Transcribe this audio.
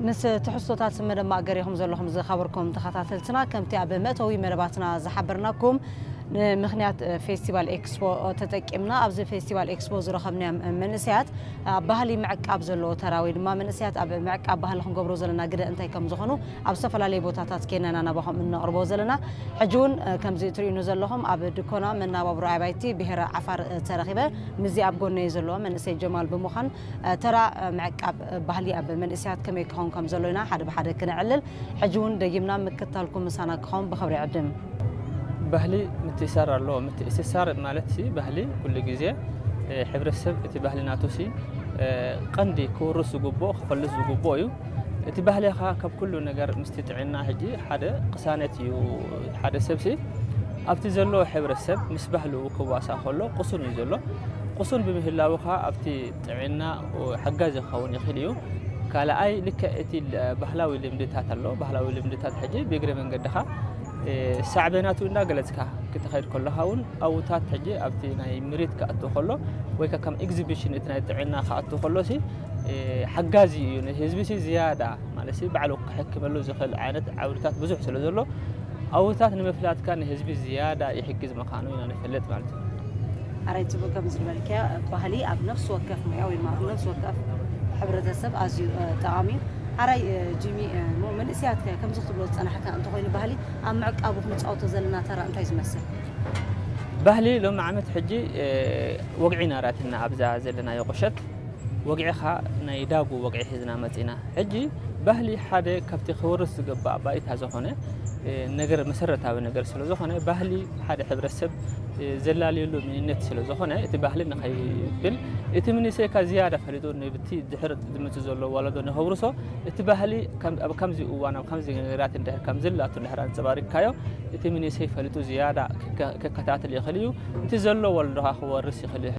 ምስ ትሕዝቶታት መደብ ማእገር ኢኹም ዘለኹም ዝኸበርኩም ተኸታተልትና። ከምቲ ኣብ መእተዊ መደባትና ዝሓበርናኩም፣ ንምኽንያት ፌስቲቫል ኤክስፖ ተጠቂምና ኣብዚ ፌስቲቫል ኤክስፖ ዝረኸብናዮም መንእሰያት ኣብ ባህሊ ምዕቃብ ዘለዎ ተራ ወይ ድማ መንእሰያት ኣብ ምዕቃብ ባህሊ ክንገብሮ ዘለና ግደ እንታይ ከም ዝኾኑ ኣብ ዝተፈላለዩ ቦታታት ኬንና ናባኹም እነቕርቦ ዘለና። ሕጂ እውን ከምዚ እትርእዩኒ ዘለኹም ኣብ ድኮና መናባብሮ ኣባይቲ ብሄረ ዓፋር ተረኺበ ምስዚ ኣብ ጎነይ ዘለዎ መንእሰይ ጀማል ብምዃን ተራ ምዕቃብ ባህሊ ኣብ መንእሰያት ከመይ ክኸውን ከም ዘሎ ኢና ሓደ ብሓደ ክነዕልል። ሕጂ እውን ደጊምና ምክታልኩም ምሳና ክኸውን ብኽብሪ ይዕድም። ባህሊ ምትእሳር ኣለዎ። ምትእስሳር ማለት ሲ ባህሊ ኩሉ ግዜ እ፣ ሕብረተሰብ እቲ ባህሊ ናቱ ሲ እ፣ ቀንዲ ክውርስ ዝግብኦ ክፈልጥ ዝግብኦ እዩ። እቲ ባህሊ ኸ ካብ ኩሉ ነገር ምስቲ ጥዕና ሕጂ ሓደ ቅሳነት እዩ። ሓደ ሰብ ሲ ኣብቲ ዘለዎ ሕብረተሰብ ምስ ባህሉ ክዋሳ ከሎ ቅሱን እዩ ዘሎ። ቅሱን ብምህላው ኸ ኣብቲ ጥዕና ሓጋዚ ክኸውን ይኽእል እዩ። ካልኣይ ልክዕ እቲ ል- ባህላዊ ልምድታት ኣሎ። ባህላዊ ልምድታት ሕጂ ብእግረ መንገድኻ እ፣ ሳዕቤናቱ እንዳገለጽካ ክትኸይድ ከለኻ እውን ኣውታት ሕጂ ኣብቲ ናይ ምሪት ክኣቱ ከሎ ወይ ከ ከም ኤግዚቢሽን እቲ ናይ ጥዕና ክኣቱ ከሎ ሲ እ፣ ሓጋዚ እዩ። ንህዝቢ ሲ ዝያዳ ማለት ሲ ባዕሉ ክሕክመሉ ዝኽእል ዓይነት ዓውድታት ብዙሕ ስለ ዘሎ ኣውታት ንምፍላጥካ ንህዝቢ ዝያዳ ይሕግዝ ምዃኑ ኢና ንፈልጥ ማለት እዩ። ኣራይ ጽቡቅ ከም ዝበልክያ ባህሊ ኣብ ነፍሲ ወከፍ ሙያ ወይ ድማ ኣብ ነፍሲ ወከፍ ሕብረተሰብ ኣዝዩ እ፣ ጠቓሚ እዩ። ኣራይ እ፣ ጂሚ እ፣ ሞ መንእሰያት ከ ከምዚ ክትብሎ ዝጸናሕካ እንተኾይኑ ባህሊ ኣብ ምዕቃቡ ክንጻወቶ ዘለና ተራ እንታይ ዝመስል? ባህሊ ሎሚ ዓመት ሕጂ እ፣ ወግዒ ናራትና ኣብዛ ዘለናዮ ቁሸት ወግዒ ኸ ናይ ዳጉ ወግዒ ሒዝና መጺና። ሕጂ ባህሊ ሓደ ካብቲ ክወርስ ዝግባእ ባይታ ዝኾነ እ፣ ነገር መሰረታዊ ነገር ስለ ዝኾነ ባህሊ ሓደ ሕብረተሰብ እ፣ ዘላለየሉ መንነት ስለ ዝኾነ እቲ ባህሊ ንኸይብል እቲ መንእሰይካ ዝያዳ ፈሊጡ ንብቲ ድሕር ዝመጽእ ዘሎ ወለዶ ንኸውርሶ እቲ ባህሊ ከም- ኣብ ከምዚ እዋን ኣብ ከምዚ ነገራት እንድሕር ከም ዘላቱ እንድሕር ኣንጸባሪቅካዮ እቲ መንእሰይ ፈሊጡ ዝያዳ ክከ- ክከታተል ይኽእል እዩ። እቲ ዘሎ ወለዶ ኸዓ ክወርስ ይኽእል እዩ።